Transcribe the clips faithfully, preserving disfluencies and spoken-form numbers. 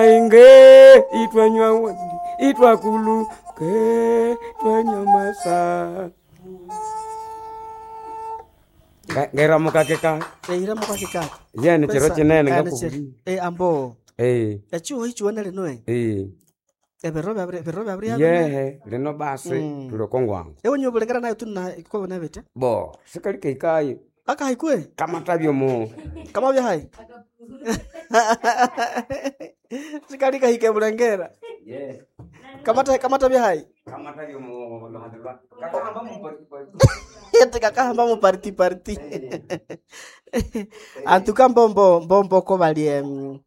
Itwainge itwanywa wandi itwakuluke twanywa masa. Ngairamuka keka Eira mukakikaka yene chiro chinene ngakubwira. Eh ambo Eh echiho ichiwene lino eh eh ebiro byabiri ebiro byabiri yehe lino basi Mm. tulokongwangu ewe nyo bulengera nayo tuna kobona bete bo sikali keikayo akahaikwe kamatabyo mu kama byahai sikali kahike bulengera kamata kamata byahai kamatabyo mu lohandilwa kakahamba mu ete kakahamba mu parti parti antuka mbombo mbombo ko bali em,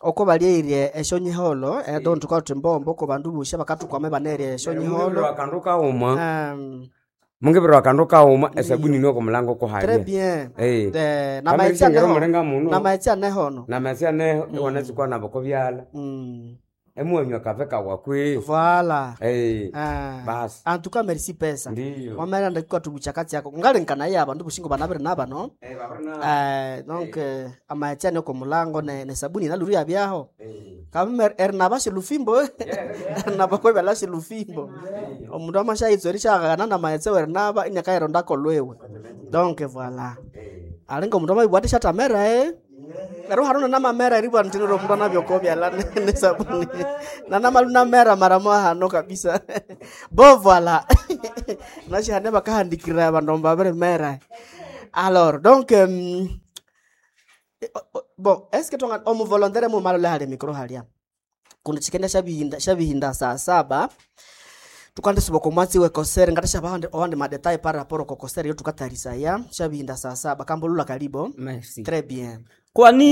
oko balieire eshonyiholo eh, don tukauti mbombo ko bandu busha bakatukwame banerie eshonyiholo akandu kauma um, mungibirwa akandu kauma esabuni niwo kumulango très kuhabya bien Eh. Eh, na Kambe maetsi lishengera aneho omulenga muno. na maetsi anehono na aneho iwanatsikwa nabo kobyala mm. emuwanywa kafe kawakwe voilà Eh, Ah. basi antuka merci pesa ndiyo wameranda kukatubucha katsi yako ngalinkana ye abandu bushingo banabire nabano Eh, babiri na- Eh, donc eh, amaetsi ane komulango ne, ne sabuni naluri abyaho Eh. kame erinaba shilufimbo erinaba kwebala shilufimbo omundu amashaitso erishakakana namaetse werinaba inyakairondako lwewe donc voilà alinga omundu amabibwa shatamera eh ero hano namamera eribwa ntiniro omundu anavyokobyala ne sabuni nanamalu namera mara hano kabisa bo voilà nashihane bakahandikira abandu babirimera alors donc um, bon est ce que tonga omuvolontaire mumalole hali mikro halia kundi chikenda shabihinda shabihinda saa saba tukandisuba komwatsi wekosere ngata shabahande owande madetail par rapport kokosere yo tukatarisaya shabihinda saa saba kambulula kalibo Merci. très bien Kwani